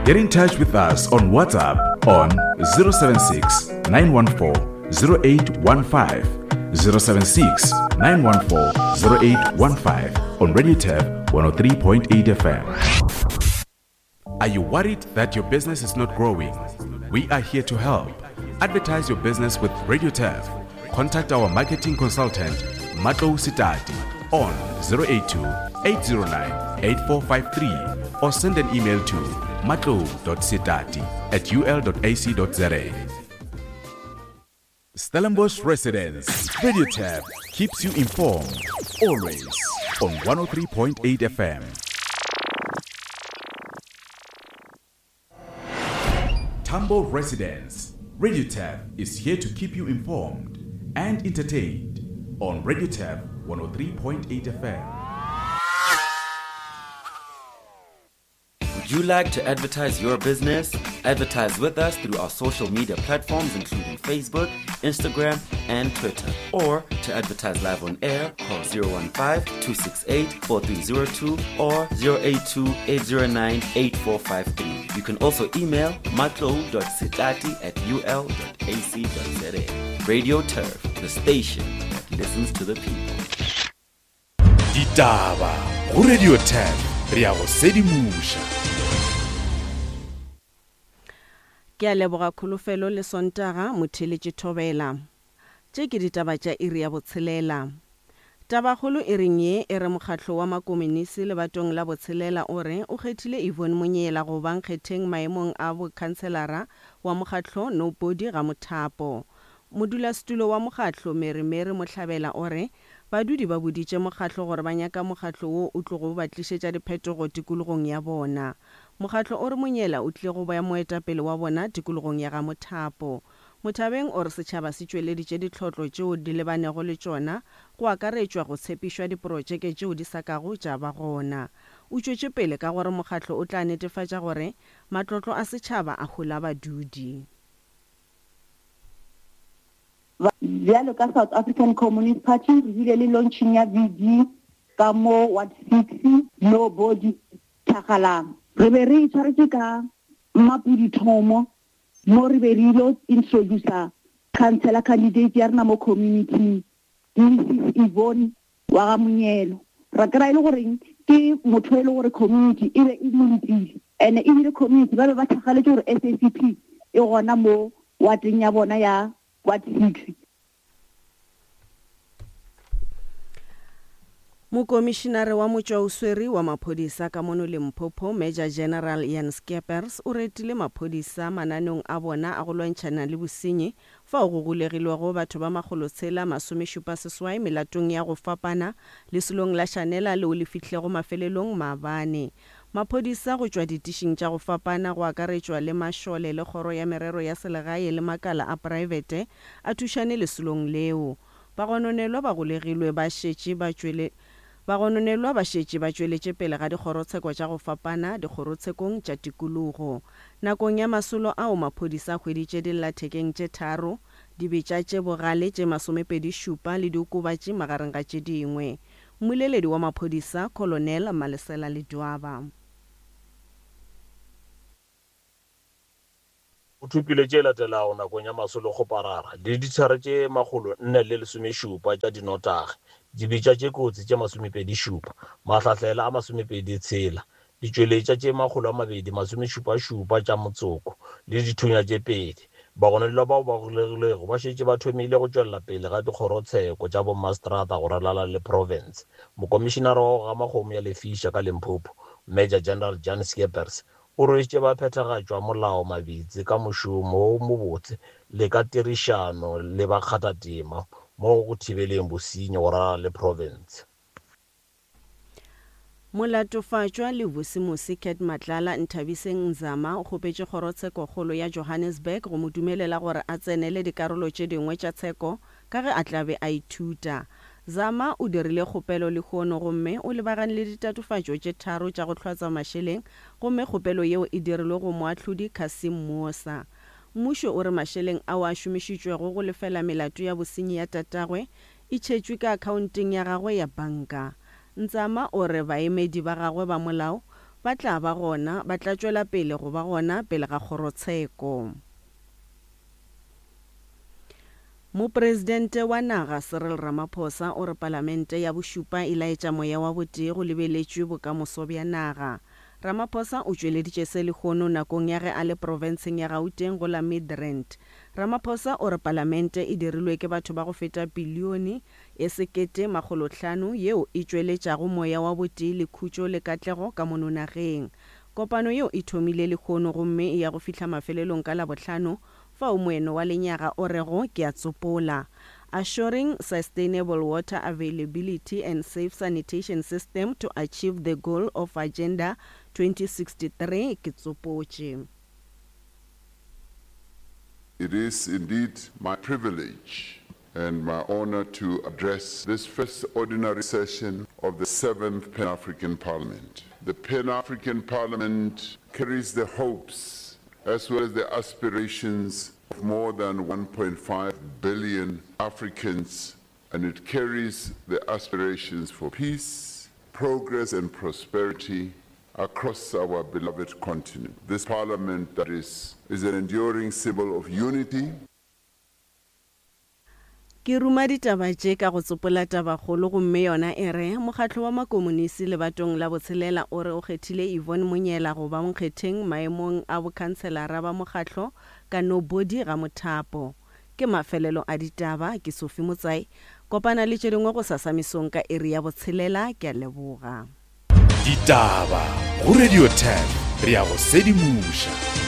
Get in touch with us on WhatsApp on 076 914 0815. 076 914 0815 on Radio Tab 103.8 FM. Are you worried that your business is not growing? We are here to help. Advertise your business with Radio Turf. Contact our marketing consultant, Matlo Sitati, on 082 809 8453 or send an email to matlo.sitati at ul.ac.za. Stellenbosch residents, Radio Tab keeps you informed always on 103.8 FM. Tambo residents, Radio Tab is here to keep you informed and entertained on Radio Tab 103.8 FM. Would you like to advertise your business? Advertise with us through our social media platforms, including Facebook, Instagram, and Twitter. Or to advertise live on air, call 015 268 4302 or 082 809 8453. You can also email matlo.sitati at ul.ac.za. Radio Turf, the station that listens to the people. Ditaba go Radio 10 re ya go sedimoša. Ke a leboga Kholofelo le Sontaga Motheeletši Thobela. Tše ke ditaba tša iri ya botshelela. Tabakgolo iring ye e re mokgatlo wa makomonisi lebatong la botshelela o re o kgethile Yvonne Monyela go ba nkgetheng maemong a bokhanselara wa mokgatlo Nobody ga Mothapo. Modulasetulo wa mokgatlo Mary Mary Mohlabela o re Badudi ba boditše mokgatlo gore ba nyaka mokgatlo wo o tlogo ba tlišetša diphetogo tikologong ya bona. Mokgatlo o re Monyela o tlile go ba moetapele wa bona tikologong ya ga Mothapo. Mothabeng o re setšhaba se tšweleditše ditlhotlo tšeo di lebanego le tšona, go akaretšwa go tshepišwa diprotšeke tšeo di sa kago tša ba gona. O tšwetše pele ka gore mokgatlo o tla netefatša gore matlotlo a setšhaba a hola badudi. Bjalo ka South African Communist Party re bile le launching ya VD ka mo Ward 6 no body Thakgalang. Re be re itshwaretše ka Mmapudi Thomo mo re be re ilo introducer councillor candidate ya rena mo community Mrs Yvonne wa ga Monyelo. Ra kry-a e le goreng ke motho e le gore community e be e mo letile and ebile community ba be ba thakgaletše gore SACP e gona mo wateng ya bona ya Ward 6. Mokomišinare wa motšwaoswere wa maphodisa ka mono Limpopo, Major General Jan Skeepers o retile maphodisa mananeong a bona a go lwantšhana le bosenyi fao go golegilwego batho ba makgolotshela masomešupa-seswai melatong ya go fapana lesolong la Shanela leo le fihlilego mafelelong maabane. Maphodisa go tšwa ditišing tša go fapana go akaretšwa le mašole le kgoro ya merero ya selegae le makala a praebete a thušane lesolong leo. Bagononelwa ba golegilwe ba šetše ba tšwele Bagononelwa ba šetše ba tšweletše pele ga dikgorotsheko tša go fapana dikgorotshekong tša tikologo. Nakong ya masolo ao maphodisa a hweditše dillathekeng tše tharo, dibetša tše bogale tše masomepedi-šupa le diokobatši magareng ga tše dingwe. Mmoleledi wa maphodisa, Colonel Malesela Ledwaba. O thopile tše latelago nakong ya masolokgoparara, dilithara tše 417 tša dinotagi, dibetša tše kotsi tše 27, mahlahlela a 26, ditšweletša tše 277 tša motsoko le dithunya tše pedi. Bagononelwa bao ba golegilwego ba šetše ba thomile go tšwelela pele ga dikgorotsheko tša bommaseterata go ralala le profense. Mokomišinara wa go gama kgomo ya lefiša ka Limpopo, Major General Jan Scheepers, O rwešitše baphethagatšwa molao mabitsi ka mošomo wo mobotse le ka tirišano le bakgathatema mo go thibeleng bosenyi go ralala le profense. Molatofatšwa le Vusimusi Cat Matlala Nthabiseng Nzama o kgopetše Kgorotshekokgolo ya Johannesburg go mo dumelela gore a tsenele dikarolo tše dingwe tša tsheko ka ge a tla be a ithuta. Zama o dirile kgopelo lehono gomme o lebagane le ditatofatšo tše tharo tša go hlwatswa mašeleng gomme kgopelo yeo e dirilwe go moahlodi Cassim Moosa. Mmušo o re mašeleng ao a šomišitšwego go lefela melato ya bosenyi ya tatagwe e tšhetšwe ka akhaonteng ya gagwe ya banka. Nzama o re baemedi ba gagwe ba molao ba tla ba gona ba tla tšwela pele go ba gona pele ga kgorotsheko. Mopresidente wa naga Cyril Ramaphosa o re palamente ya bošupa e laetša moya wa botee go lebeletšwe bokamoso bja naga. Ramaphosa o tšweleditše se lehono nakong ya ge a le profenseng ya Gauteng go la Midrand. Ramaphosa o re palamente e dirilwe ke batho ba go feta pilione e sekete makgolohlano yeo e tšweletšago moya wa botee le khutšo le katlego ka mono nageng. Kopano yeo e thomile lehono gomme e ya go fihla mafelelong ka Labohlano fao moeno wa lenyaga o rego ke a tsopola, Assuring sustainable water availability and safe sanitation system to achieve the goal of Agenda 2063, ke tsopotše. It is indeed my privilege and my honor to address this first ordinary session of the seventh Pan-African Parliament. The Pan-African Parliament carries the hopes as well as the aspirations of more than 1.5 billion Africans, and it carries the aspirations for peace, progress and prosperity across our beloved continent. This parliament that is, is an enduring symbol of unity. Ke ruma ditaba tše ka go tsopola tabakgolo gomme yona e re, Mokgatlo wa Makomonisi lebatong la botshelela o re o kgethile Yvonne Monyela go ba nkgetheng maemong a bokhanselara ba mokgatlo ka nobody ga mothapo. Ke mafelelo a ditaba, ke Sophie Motsai. Kopana le tše dingwe gosasa mesong ka iri ya botshelela. Ke a leboga. Ditaba go Radio 10 re ya go sedimoša.